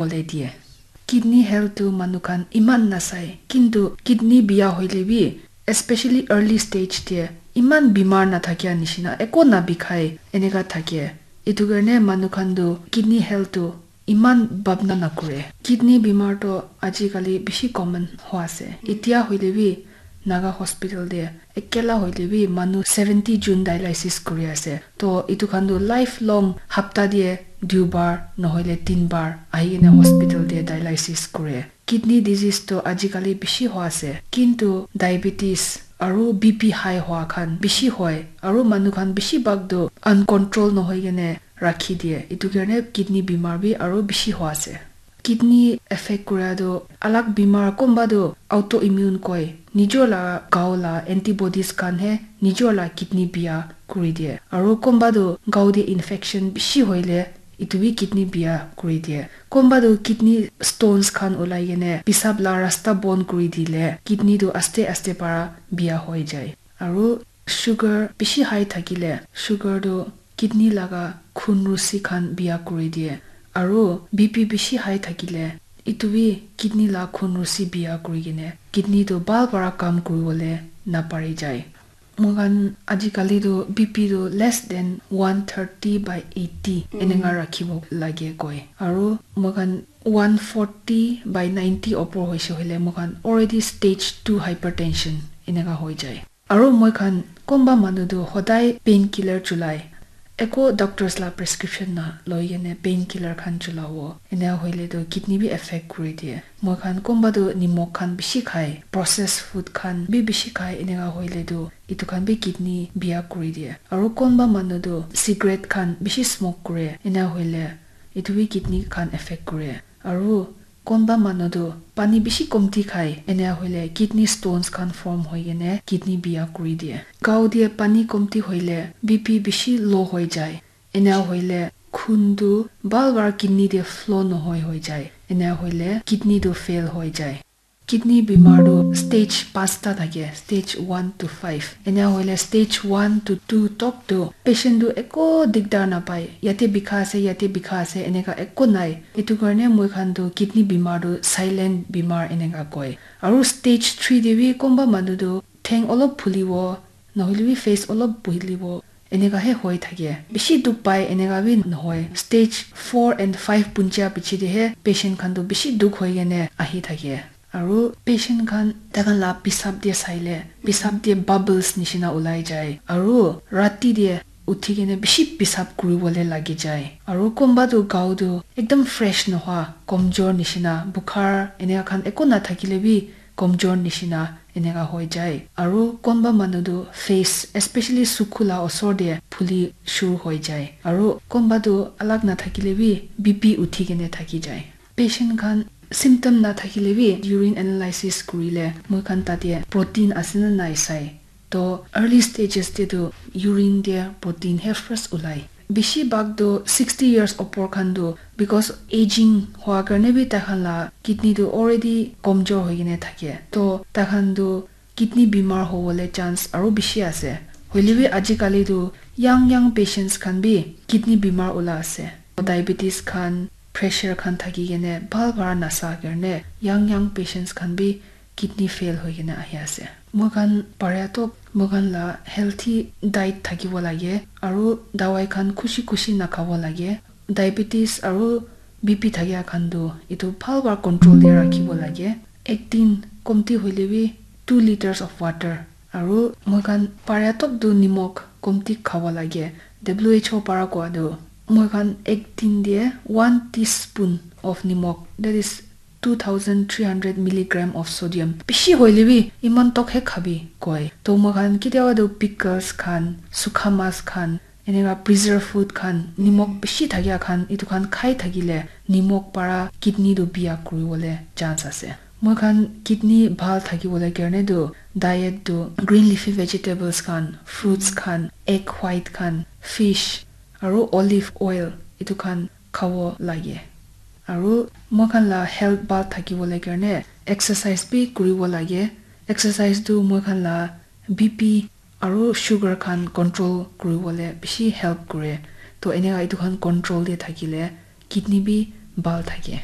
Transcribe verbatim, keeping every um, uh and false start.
bole die. Kidney health tu manu khan iman nasai, kintu kidney biya hoile bi, especially early stage te, iman bimar nathakia nishina, eko nabikhai, eneka thake. Itu karne manu khan tu kidney health tu iman bhabna nakure. Kidney bimar to ajikali bishi common hua ase. Itya hoile bi Naga hospital te ekela hoile bi manu seventy jun dialysis kuri ase. To itu khan tu lifelong hapta te duibar nohoile tinbar ahi kena hospital te dialysis kure. Kidney disease to ajikali bishi hua ase. Kintu diabetes aru B P high hua khan bishi hoi. Aru manu khan bishi bhag tu uncontrol nohoi kene rakhi die. Itu karne kidney bimar bi aru bishi hua ase. Kidney affect kura tu alag bimar, konba tu autoimmune koi. Nijor la gao la antibodies khan he nijor la kidney biya kuri die. Aru konba tu gao te infection bishi hoile itu bi kidney biya kuri die. Konba tu kidney stones khan ulai kene pisap la rasta bon kuri dile kidney tu aste aste para biya hoi jai. Aru sugar bishi high thakile sugar tu kidney laga khun rusi khan biya kuri die. Aru B P bishi high thakile itu bi kidney la khun rusi biya kuri kene kidney tu bhal para kam kuribole napari jai. Moikhan ajikali tu B P tu less than one thirty by eighty enenga rakhibo lage koi. Aru moikhan one forty by ninety opor hoise hoile moikhan already stage two hypertension eneka hoi jai. Aru moikhan konba manu tu hodai painkiller chulai. Eko doctors la prescription na loi kene painkiller khan chulabo. Ene hoile tu kidney bi affect kuri die. Moikhan konba tu nimok khan bishi khai, processed food khan bi bishi khai, eneka hoile tu itu khan bi kidney biya kuri die. Aru konba manu tu cigarette khan bishi smoke kure, ene hoile itu bi kidney khan affect kure. Aru konba manu tu pani bishi komti khai, ene hoile kidney stones khan form hoi kene kidney biya kuri die. Gao te pani komti hoile B P bishi low hoi jai. Ena hoile khun tu bhal para kidney te flow nohoi hoi jai. Ena hoile kidney tu fail hoi jai. Kidney bimar tu stage pasta thake, stage one to five. Ena hoile stage one to two tok tu patient tu eko digdar napai. Yate bikha ase, yate bikha ase, eneka eko nai. Etu karne moi khan tu kidney bimar tu silent bimar eneka koi. Aru stage three te bi konba manu tu theng olop phulibo, nohoile bi face olop buhilibo, eneka he hoi thake. Bishi dukh pai, eneka bi nohoi. Stage four and five punja piche te he patient khan tu bishi dukh hoi kene ahi thake. Aru patient khan takhan la pisap te saile, pisap te bubbles nishina ulai jai. Aru rati te uthi kene bishi pisap kuribole lagi jai. Aru konba tu gao tu ekdom fresh nohoi, komjor nishina, bukhar eneka khan eko nathakile bi komjor nishina eneka hoi jai. Aru konba manu tu face, especially sukhu la osor te phuli shuru hoi jai. Aru konba tu alag nathakile bi B P uthi kene thaki jai. Patient khan symptom nathakile bi urine analysis kurile moi khan tate protein ase na nai sai. To early stages te tu urine te protein he first ulai. Bishi bhag tu sixty years opor khan tu because aging hua karne bi takhan la kidney tu already komjor hoi kene thake. To takhan tu kidney bimar hobole chance aru bishi ase. Hoile bi ajikali tu young young patients khan bi kidney bimar ula ase. Diabetes khan, pressure khan thaki kene bhal para nasa karne young young patients khan bi kidney fail hoi kene ahi ase. Moi khan paria to moi khan la healthy diet thakibo lage aru dawai khan khushi khushi nakhabo lage. Diabetes aru B P thakia khan tu etu bhal para control te rakhibo lage. Ek din komti hoile bi two liters of water aru moi khan paria tok tu nimok komti khabo lage. W H O para koa tu moi khan ek din te one teaspoon of nimok, that is two thousand three hundred milligram of sodium. Bishi hoile bi iman tok he khabi koi. To moi khan kitiaba tu pickles khan, sukha mas khan, eneka preserve food khan, nimok bishi thakia khan, etu khan khai thakile nimok para kidney tu biya kuribole chance ase. Moi khan kidney bhal thakibole karne tu diet tu green leafy vegetables khan, fruits khan, egg white khan, fish, aru olive oil etu khan khabo lage. Aru moi khan la health bhal thakibole karne exercise bi kuribo lage. Exercise tu moi khan la B P aru sugar khan control kuribole bishi help kure. To eneka etu khan control te thakile kidney bi bhal thake.